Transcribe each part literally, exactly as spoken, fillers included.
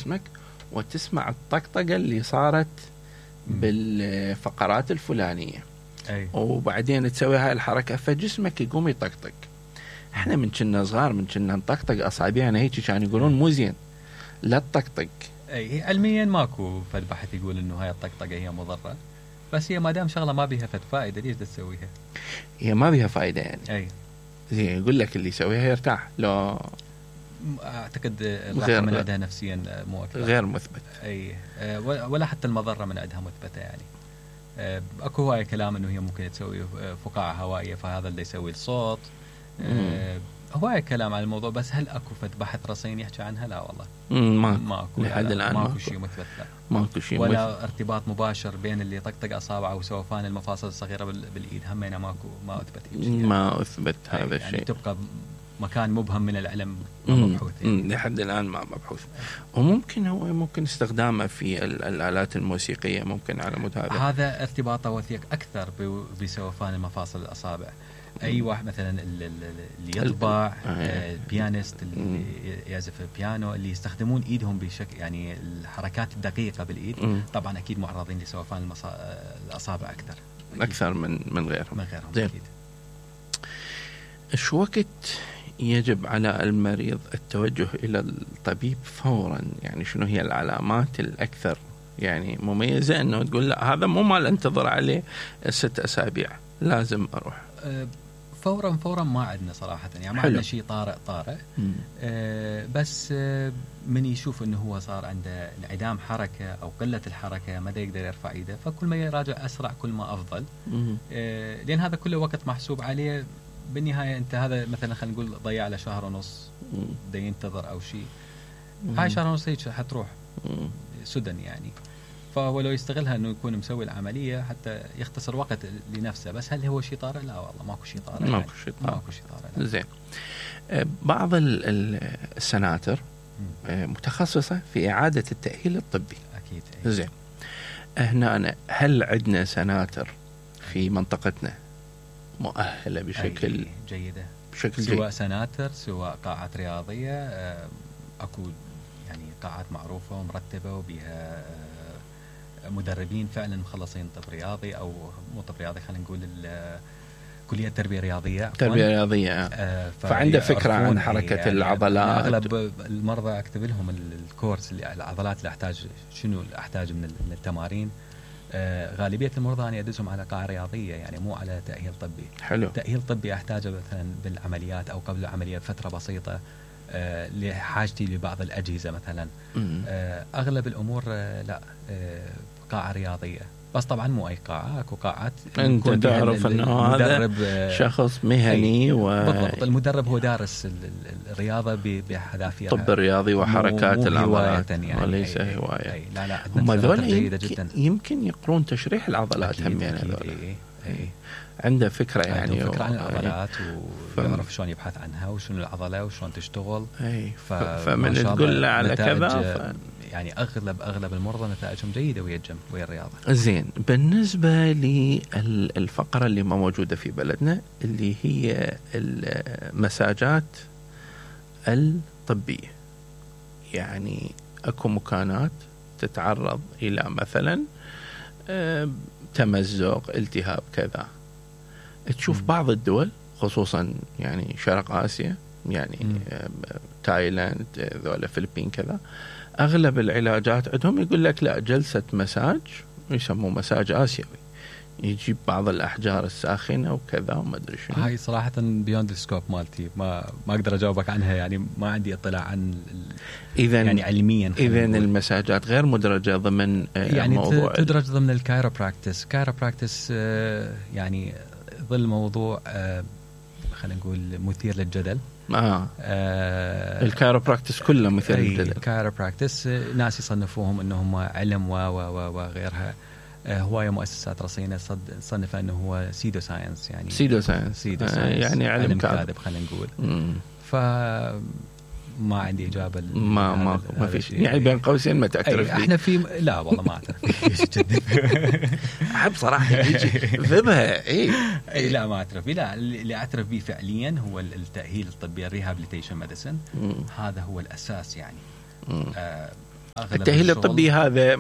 جسمك وتسمع الطقطقة اللي صارت بالفقرات الفلانية. أي. وبعدين تسوي هاي الحركة فجسمك يقوم يطقطق. احنا من كنا صغار من كنا نطقطق أصابعنا هيك كان يقولون مو زين لا تطقطق. اي علميا ماكو فد بحث يقول انه هاي الطقطقة هي مضرة، بس هي ما دام شغلة ما بيها فد فائدة ليش تسويها؟ هي ما بيها فائدة يعني. اي زين يقول لك اللي يسويها يرتاح. لو اعتقد الراحة من عندها نفسيا مو اكثر، غير مثبت. اي ولا حتى المضرة من عندها مثبتة يعني. اكو هواي كلام انه هي ممكن تسوي فقاعة هوائية فهذا اللي يسوي الصوت. هواي كلام عن الموضوع، بس هل اكو فد بحث رصين يحكي عنها؟ لا والله ما ماكو لحد الان ماكو شيء مثبت. لا ماكو شيء ولا مثبت. ارتباط مباشر بين اللي طقطق اصابعه وسوفان المفاصل الصغيرة بالايد، همينه ماكو ما اثبت يعني. ما اثبت هذا يعني الشيء. يعني تبقى مكان مبهم من العلم مبحوث يعني. لحد الآن ما مبحوث. وممكن هو ممكن استخدامه في الآلات الموسيقية ممكن على مود هذا. هذا ارتباطه وثيق أكثر بسوفان المفاصل الأصابع. أي واحد مثلا اللي يطبع البيانيست اللي يعزف البيانو اللي يستخدمون إيدهم بشكل يعني الحركات الدقيقة بالإيد طبعا أكيد معرضين لسوفان المصا... الأصابع أكثر أكيد. أكثر من من غيرهم من غيرهم زين. أكيد. شو وقت يجب على المريض التوجه إلى الطبيب فورا؟ يعني شنو هي العلامات الأكثر يعني مميزة أنه تقول لا هذا مو مال انتظر عليه ست أسابيع لازم أروح؟ أه فورا فورا ما عندنا صراحة يعني ما عندنا شيء طارئ طارئ. أه بس أه من يشوف أنه هو صار عنده انعدام حركة أو قلة الحركة ما دا يقدر يرفع إيده، فكل ما يراجع أسرع كل ما أفضل. أه لأن هذا كله وقت محسوب عليه بالنهاية. أنت هذا مثلا خلينا نقول ضيع له شهر ونص دا ينتظر أو شيء، هاي شهر ونص هيك حتروح سدن يعني. فهو لو يستغلها أنه يكون مسوي العملية حتى يختصر وقت لنفسه. بس هل هو شيء طارئ؟ لا والله ماكو شيء طارئ. ماكو شيء طارئ. ماكو شيء طارئ. زين. بعض السناتر متخصصة في إعادة التأهيل الطبي. أكيد. زين. هنا أنا هل عندنا سناتر في منطقتنا مؤهلة بشكل جيدة بشكل سواء جيد. سناتر سواء قاعات رياضية أكو يعني قاعات معروفة ومرتبة وبها مدربين فعلا مخلصين طب رياضي أو مو طب رياضي خلينا نقول كلية تربية رياضية تربية رياضية آه فعنده فكرة عن حركة يعني العضلات. يعني أغلب المرضى أكتب لهم الكورس اللي العضلات اللي أحتاج شنو اللي أحتاج من التمارين. آه غالبية المرضى أنا أدزهم على قاعة رياضية يعني مو على تأهيل طبي. حلو. تأهيل طبي أحتاجه مثلا بالعمليات أو قبل العملية بفترة بسيطة آه لحاجتي لبعض الأجهزة مثلا. آه أغلب الأمور آه لا آه قاعة رياضية، بس طبعا مو أي قاعة. أكو قاعات أنت تعرف أنه هذا شخص مهني و... بالضبط. المدرب هو دارس الرياضة بحذافيرها، الطب الرياضي وحركات مو العضلات يعني وليس هواية. أي لا لا هم ذول يمكن, يمكن يقرون تشريح العضلات هم يعني ذول عنده فكرة يعني عنده فكرة عن العضلات ويعرف شلون يبحث عنها وشنو العضلة وشلون تشتغل. أي ف... فمن تقول له على كذا ف... يعني أغلب أغلب المرضى نتائجهم جيدة ويا الجيم ويا الرياضة. زين. بالنسبة للفقرة اللي ما موجودة في بلدنا اللي هي المساجات الطبية، يعني أكو مكانات تتعرض إلى مثلا تمزق التهاب كذا، تشوف م. بعض الدول خصوصا يعني شرق آسيا يعني م. تايلاند ذولا الفلبين كذا أغلب العلاجات عندهم يقول لك لا جلسة مساج يسموه مساج آسيوي، يجيب بعض الأحجار الساخنة وكذا وما أدري شنو. هاي صراحة بيوند السكوب مالتي ما ما أقدر أجاوبك عنها يعني ما عندي اطلاع عن إذن يعني علميا. إذن المساجات غير مدرجة ضمن يعني موضوع تدرج ضمن الكايروبراكتس. كايروبراكتس يعني ظل موضوع خلينا نقول مثير للجدل. آه. آه الكايروبراكتس كله مثير للجدل. الكايروبراكتس ناس يصنفوهم انهم علم و و وغيرها. آه هواية مؤسسات رصينة صنفها انه هو سيدو ساينس يعني سيدو ساينس, سيدو ساينس. آه يعني علم, علم كاذب خلينا نقول. ف ما عندي إجابة. ما ما ما في شيء يعني بين قوسين ما تعترف فيه. احنا في لا والله ما اعترف فيه. احب صراحة يجي ذبها اي اي لا ما اعترف فيه. لا اللي اعترف به فعليا هو التأهيل الطبي الريهابيليتيشن ميديسن. هذا هو الاساس يعني. آه التأهيل الطبي هذا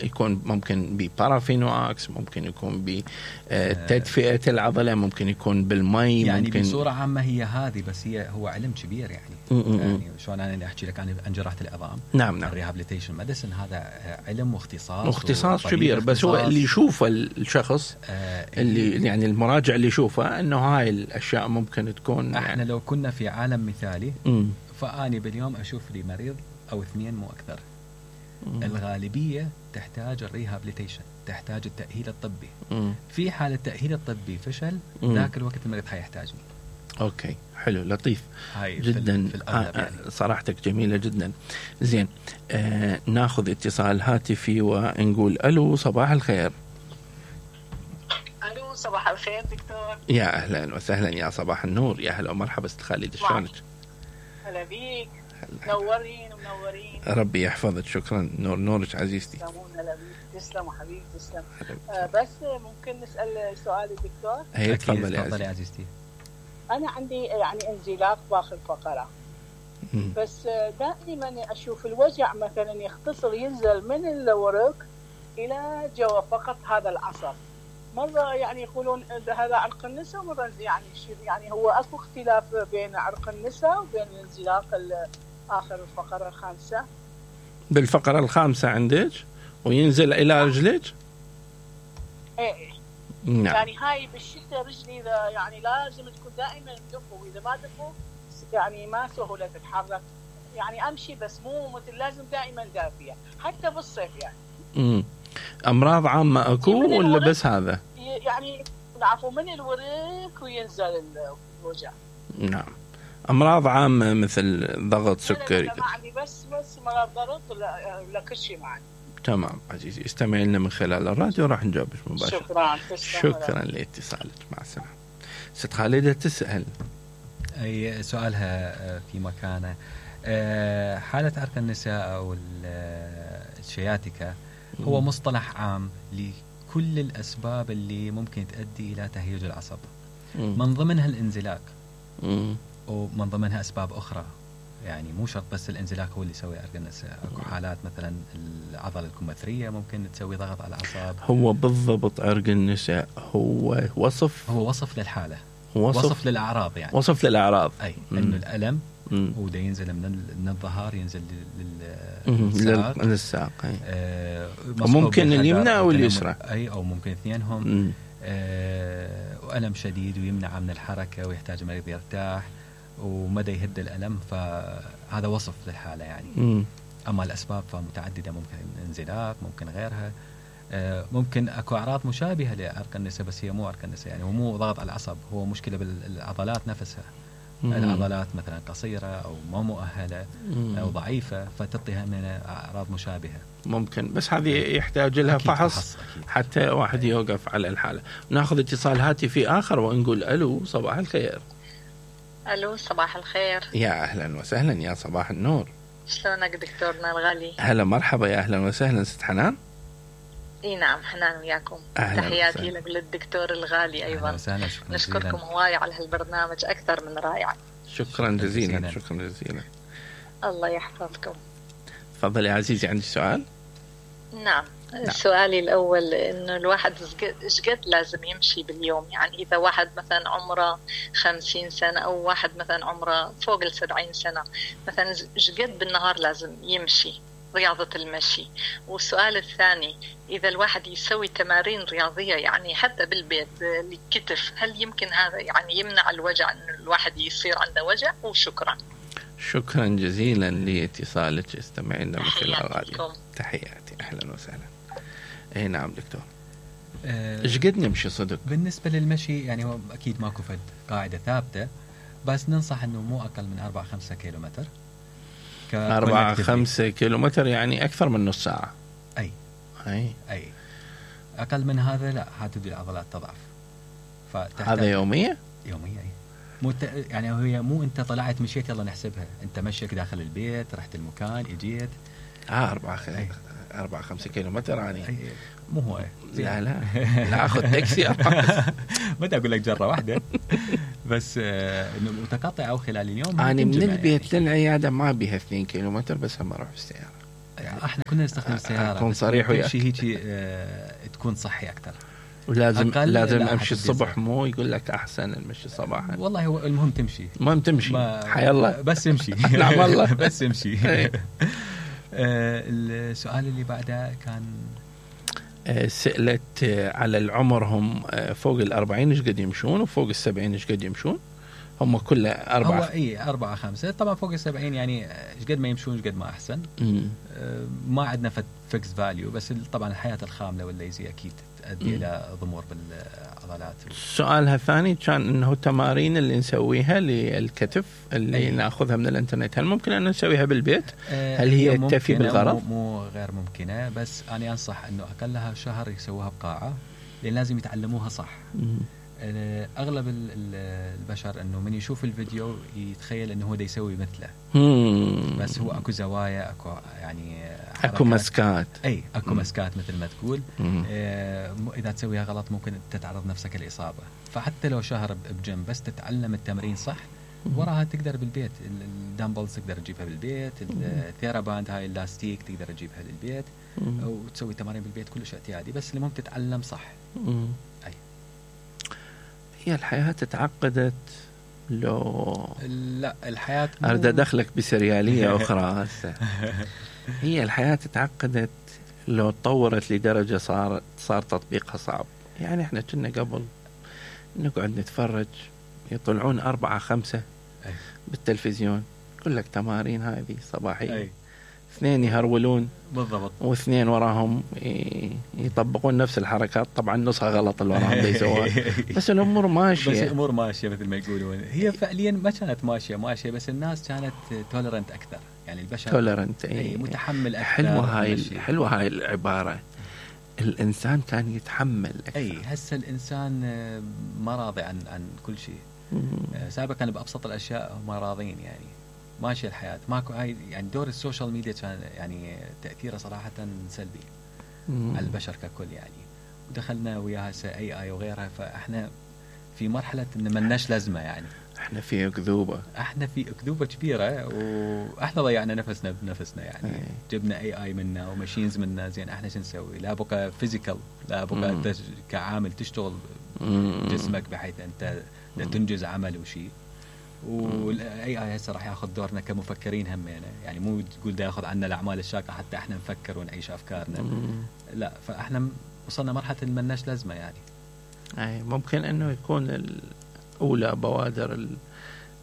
يكون ممكن ببارافينواكس، ممكن يكون بتدفئة العضلة، ممكن يكون بالمي، يعني ممكن بصورة عامة هي هذه، بس هي هو علم كبير يعني. م-م. يعني شلون أنا أحكي لك عن جراحة العظام، نعم نعم الريهابيليتيشن ميديسن، هذا علم واختصاص واختصاص كبير، بس هو اللي يشوفه الشخص آه اللي يعني المراجع اللي يشوفه انه هاي الاشياء ممكن تكون. احنا يعني لو كنا في عالم مثالي م. فاني باليوم اشوف لي مريض او اثنين مو اكثر. م. الغالبيه تحتاج الريهابيليتيشن، تحتاج التاهيل الطبي. م. في حال التاهيل الطبي فشل، ذاك الوقت المريض حيحتاجني. اوكي حلو لطيف هاي جدا. في آه يعني. صراحتك جميله جدا. زين آه ناخذ اتصال هاتفي ونقول الو صباح الخير. الو صباح الخير دكتور. يا اهلا وسهلا، يا صباح النور، يا هلا ومرحبا ست خالد، شلونك؟ هلا بيك، منورين ومنورين. ربي يحفظك، شكرا. نور نورك عزيزتي. تسلم حبيبي تسلم. آه بس ممكن نسال سؤال الدكتور؟ هي تفضلي يا عزيزتي. انا عندي يعني انزلاق باخر فقره، بس دائما اشوف الوجع مثلا يختصر ينزل من الورك الى جوا فقط هذا العصب. مره يعني يقولون هذا عرق النساء، ومره يعني يعني هو اكو اختلاف بين عرق النساء وبين الانزلاق اخر الفقره الخامسه. بالفقره الخامسه عندك وينزل الى رجلك؟ ايه نعم. يعني هاي بالشتاء رجلي اذا يعني لازم تكون دائما مدفو، واذا ما دفو يعني ما سهوله تتحرك، يعني امشي بس مو مثل لازم دائما دافيه حتى بالصيف يعني. امم امراض عامه اكو ولا بس هذا؟ يعني عفوا من الورك وينزل الوجع. نعم. امراض عامه مثل ضغط سكري؟ لا ما عندي، بس بس مرض ضغط ولا لا كل شيء ما عندي. تمام عزيزي، استمعي لنا من خلال الراديو راح نجاوبك مباشرة. شكرا. شكرا لاتصالك، مع السلامة. ست خالدة تسأل أي سؤالها في مكانه. حالة عرق النساء أو الشياتيكا هو مصطلح عام لكل الأسباب اللي ممكن تؤدي إلى تهيج العصب، من ضمنها الانزلاق ومن ضمنها أسباب أخرى. يعني مو شرط بس الانزلاق هو اللي يسوي عرق النساء، اكو حالات مثلا العضله الكمثريه ممكن تسوي ضغط على الاعصاب. هو بالضبط عرق النساء هو وصف هو وصف للحاله، وصف, وصف للاعراض يعني وصف للاعراض اي انه الالم وده ينزل من من الظهر ينزل للساق للساق اي آه وممكن اليمنى او اليسرى اي او ممكن اثنينهم آه والم شديد ويمنع من الحركه ويحتاج المريض يرتاح ومدى يهد الألم، فهذا وصف للحالة يعني. م. أما الأسباب فمتعددة، ممكن انزلاق، ممكن غيرها، ممكن أكو أعراض مشابهة لعرق النساء بس هي مو عرق النساء، يعني هو مو ضغط على العصب، هو مشكلة بالعضلات نفسها. م. العضلات مثلا قصيرة أو ما مؤهلة م. أو ضعيفة فتعطيها من أعراض مشابهة ممكن، بس هذه يحتاج لها فحص, فحص حتى واحد يوقف على الحالة. ناخذ اتصال هاتفي آخر ونقول ألو صباح الخير. الو صباح الخير. يا اهلا وسهلا، يا صباح النور. شلونك دكتورنا الغالي؟ هلا مرحبا، يا اهلا وسهلا ست حنان. اي نعم حنان وياكم. تحياتي لك للدكتور الغالي ايضا. وسهلا. نشكركم هواي على هالبرنامج اكثر من رائع. شكرا جزيلا. شكرا جزيلا. الله يحفظكم. تفضلي عزيزي، عندي سؤال. نعم. نعم. سؤالي الأول إنه الواحد إيش قد لازم يمشي باليوم؟ يعني إذا واحد مثلا عمره خمسين سنة أو واحد مثلا عمره فوق السبعين سنة مثلا إيش قد بالنهار لازم يمشي رياضة المشي؟ والسؤال الثاني، إذا الواحد يسوي تمارين رياضية يعني حتى بالبيت للكتف، هل يمكن هذا يعني يمنع الوجع إنه الواحد يصير عنده وجع؟ وشكرا. شكرا جزيلا لاتصالك، استمعنا من خلال الراديو. تحياتي، أهلا وسهلا. اي نعم دكتور. ايش قد نمشي صدق؟ بالنسبه للمشي يعني هو اكيد ماكو فد قاعده ثابته، بس ننصح انه مو اقل من أربعة خمسة كيلومتر. أربعة خمسة كيلومتر يعني اكثر من نص ساعه. اي اي اي اقل من هذا لا، حتبدي العضلات تضعف. هذا يوميه؟ يوميه اي. مو يعني هي مو انت طلعت مشيت يلا نحسبها، انت مشيك داخل البيت، رحت المكان، اجيت. اه أربعة خ... أربعة خمسة كيلومتر يعني مو هو لا لا لا أخذ تاكسي ما أقول لك جرة واحدة بس إنه متقطعة أو خلال اليوم. أنا من البيت للعيادة ما بيها اثنين كيلومتر، بس هم أروح بالسيارة. احنا كنا نستخدم السياره اكون صريح وياك، شيء هيك اه تكون صحي اكثر. ولازم لازم امشي الصبح، مو يقول لك احسن المشي صباحا. والله هو المهم تمشي، المهم تمشي حي الله بس امشي. نعم والله بس امشي. آه السؤال اللي بعده كان آه سألت آه على العمر، هم آه فوق الأربعين ايش قد يمشون وفوق السبعين ايش قد يمشون؟ هم كله أربعة. هو اي أربعة خمسة طبعا. فوق السبعين يعني ايش قد ما يمشون ايش قد ما احسن. آه ما عندنا فيكس فاليو، بس طبعا الحياة الخاملة والليزي اكيد تؤدي الى ضمور بالعضلات. سؤالها الثاني كان انه التمارين اللي نسويها للكتف اللي أي. ناخذها من الانترنت، هل ممكن ان نسويها بالبيت؟ آه هل هي تكفي بالغرض؟ مو, مو غير ممكنة، بس انا انصح انه اقلها شهر يسووها بقاعة، لان لازم يتعلموها صح. م. اغلب البشر انه من يشوف الفيديو يتخيل انه هو دا يسوي مثله. مم. بس هو اكو زوايا، اكو يعني اكو مسكات. اي اكو مم. مسكات مثل ما تقول. آه اذا تسويها غلط ممكن تتعرض نفسك للاصابه. فحتى لو شهر بجيم بس تتعلم التمرين صح، وراها تقدر بالبيت. الدامبلز تقدر تجيبها بالبيت، الثيراباند هاي اللاستيك تقدر تجيبها للبيت وتسوي تمارين بالبيت كلش اعتيادي، بس المهم تتعلم صح. مم. اي هي الحياة تعقدت لو لا الحياة أريد أدخلك بسريالية أخرى هسه. هي الحياة تعقدت لو تطورت لدرجة صار صار تطبيقها صعب. يعني إحنا كنا قبل نقعد نتفرج يطلعون أربعة خمسة بالتلفزيون، يقول لك تمارين هذه صباحية، اثنين يهرولون بالضبط واثنين وراهم يطبقون نفس الحركات، طبعا نصها غلط اللي وراهم دا يسوون، بس الامور ماشيه. بس الامور ماشيه مثل ما يقولون. هي فعليا ما كانت ماشيه ماشيه بس الناس كانت تولرنت اكثر، يعني البشر تولرنت اي متحمل اكثر. حلوه هاي حلوه هاي العباره، الانسان كان يتحمل اكثر. اي هسه الانسان ما راضي عن عن كل شيء. سابقا كان بابسط الاشياء هم راضين، يعني ماشي الحياة ماكو هاي. يعني دور السوشيال ميديا كان يعني تأثيره صراحة سلبي مم. على البشر ككل يعني. ودخلنا وياها اي اي وغيرها، فاحنا في مرحلة ان مناش لازمة. يعني احنا في اكذوبة احنا في اكذوبة كبيرة، واحنا ضيعنا نفسنا بنفسنا. يعني أي. جبنا اي اي منا وماشينز منا، زين احنا شو نسوي؟ لا بقى فيزيكال، لا بقى تش... كعامل تشتغل مم. جسمك بحيث انت تنجز عمل وشيء. والاي اي هسه راح ياخذ دورنا كمفكرين همينه، يعني مو تقول دا ياخذ عنا الاعمال الشاقه حتى احنا نفكر ونعيش افكارنا. مم. لا فاحنا وصلنا مرحله اللي ملناش لازمه يعني. اي ممكن انه يكون اولى بوادر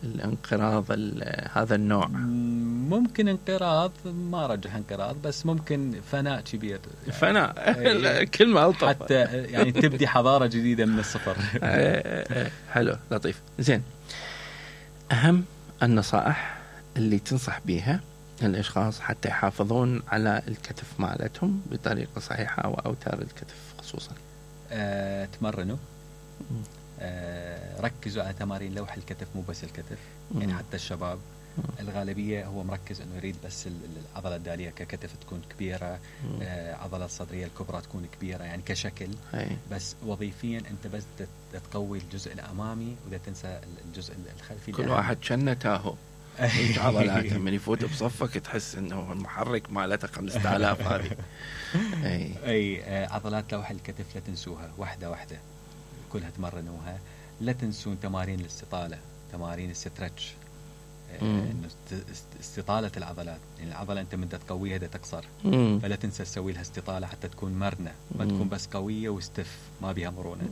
الانقراض هذا النوع. ممكن انقراض، ما رجح انقراض، بس ممكن فناء كبير. يعني فناء كلمه الطف، حتى يعني تبدي حضاره جديده من الصفر. حلو لطيف. زين، أهم النصائح اللي تنصح بيها الأشخاص حتى يحافظون على الكتف مالتهم بطريقة صحيحة وأوتار الكتف خصوصا. أه، تمرنوا، أه، ركزوا على تمارين لوح الكتف مو بس الكتف. مم. يعني حتى الشباب مم. الغالبية هو مركز أنه يريد بس العضلة الدالية ككتف تكون كبيرة، أه، عضلة الصدرية الكبرى تكون كبيرة يعني كشكل. هي. بس وظيفيا أنت بس تقوي الجزء الأمامي ولا تنسى الجزء الخلفي. كل واحد شنه تاهو ايش عضلاته من يفوت بصفك تحس انه المحرك مالته خمسة آلاف هذه. اي اي عضلات لوح الكتف لا تنسوها، واحده واحده كلها تمرنوها. لا تنسون تمارين الاستطاله، تمارين السترتش، انه استطاله العضلات. يعني العضله انت من تقويها دا تقصر، مم. فلا تنسى تسوي لها استطاله حتى تكون مرنه، ما تكون بس قويه واستف ما بها مرونه.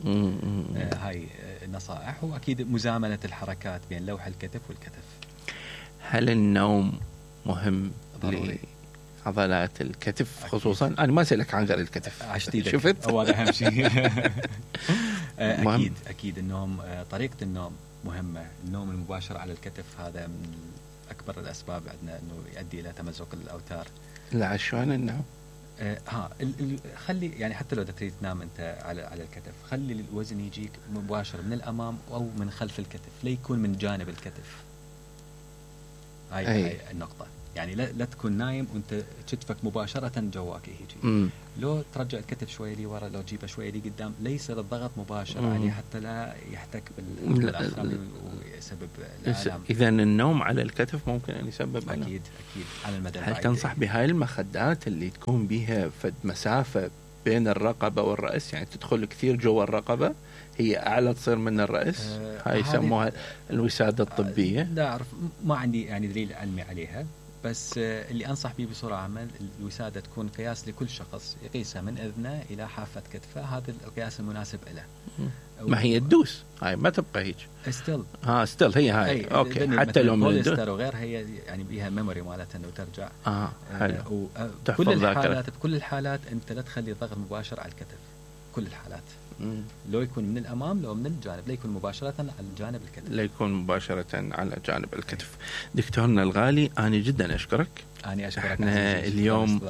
آه هاي النصائح. واكيد مزامنه الحركات بين لوح الكتف والكتف. هل النوم مهم لعضلات الكتف خصوصا؟ أكيد. أنا ما أسألك عن غير الكتف، عشتيدك شفت؟ هو هذا أهم شيء. أكيد أكيد النوم، طريقة النوم مهمة. النوم المباشر على الكتف هذا من أكبر الأسباب عندنا إنه يؤدي إلى تمزق الأوتار. لا شلون النوم؟ آه ها ال ال خلي يعني حتى لو تريد تنام أنت على على الكتف، خلي الوزن يجيك مباشر من الأمام أو من خلف الكتف، لا يكون من جانب الكتف. هاي, هاي النقطة. يعني لا, لا تكون نايم وانت كتفك مباشره جواك يجي. لو ترجع الكتف شوي لي ورا، لو تجيبه شوي لي قدام، ليس الضغط مباشر مم. عليه حتى لا يحتك بالاخر ويسبب الالام. اذا النوم على الكتف ممكن ان يسبب اكيد ألم. اكيد على المدى البعيد. هل تنصح بهاي المخدات اللي تكون بها فد مسافه بين الرقبه والراس، يعني تدخل كثير جوا الرقبه، هي اعلى تصير من الراس؟ آه هاي يسموها الوساده الطبيه. لا اعرف، ما عندي يعني دليل علمي عليها، بس اللي أنصح به بصورة عامة الوسادة تكون قياس لكل شخص، يقيسها من أذنه إلى حافة كتفه، هذا القياس المناسب له. ما هي الدوس هاي ما تبقى هيك ستيل ها ستيل هي هاي اوكي، حتى لو من الدوس وغير هي يعني بيها ميموري مالتها انه ترجع. اه حلو. آه كل الحالات بكل الحالات انت لا تخلي ضغط مباشر على الكتف، كل الحالات. مم. لو يكون من الأمام لو من الجانب، لا يكون مباشرة على جانب الكتف، لا يكون مباشرة على جانب الكتف. دكتورنا الغالي أنا جدا أشكرك. أنا أشكرك. احنا اليوم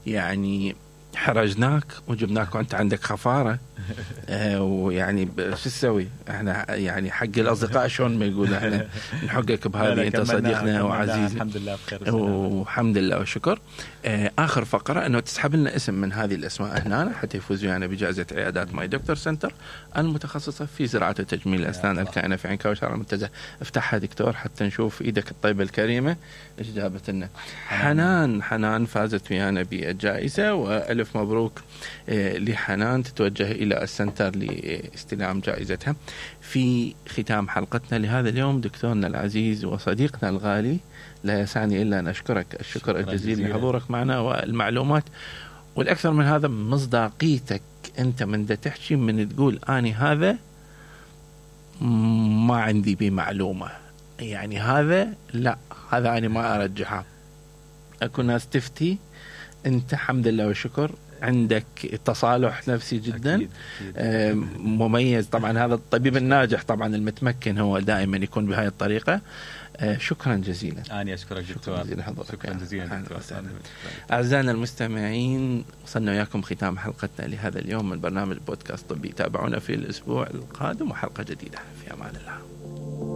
يعني حرجناك وجبناك وانت عندك خفارة آه ويعني شو تسوي، احنا يعني حق الاصدقاء شلون ما يقول احنا نحقك بهذه، انت صديقنا وعزيزنا الحمد لله بخير والحمد لله والشكر. آه اخر فقرة انه تسحب لنا اسم من هذه الاسماء هنا حتى يفوز ويانا بجائزة عيادات ماي دكتور سنتر المتخصصة في زراعة وتجميل الاسنان الكائنة في عين كوثر المنتزه. افتحها دكتور حتى نشوف ايدك الطيبة الكريمة ايش جابت لنا. حنان حنان فازت ويانا بالجائزة، والف مبروك آه لحنان، تتوجه الى السنتر لاستلام جائزتها. في ختام حلقتنا لهذا اليوم دكتورنا العزيز وصديقنا الغالي، لا يسعني إلا أن أشكرك الشكر الجزيل لحضورك معنا والمعلومات، والأكثر من هذا مصداقيتك. أنت من دا تحكي من تقول أني هذا ما عندي بمعلومة، يعني هذا لا هذا أنا ما أرجحها. أكون ناس تفتي، أنت الحمد لله والشكر عندك تصالح نفسي جدا. أكيد. أكيد. مميز طبعا. هذا الطبيب الناجح طبعا المتمكن هو دائما يكون بهاي الطريقة. شكرا جزيلا. أنا أشكرك دكتور. شكرا جزيلا دكتور. أعزائنا المستمعين، وصلنا وياكم ختام حلقتنا لهذا اليوم من برنامج بودكاست طبي. تابعونا في الأسبوع القادم وحلقة جديدة. في أمان الله.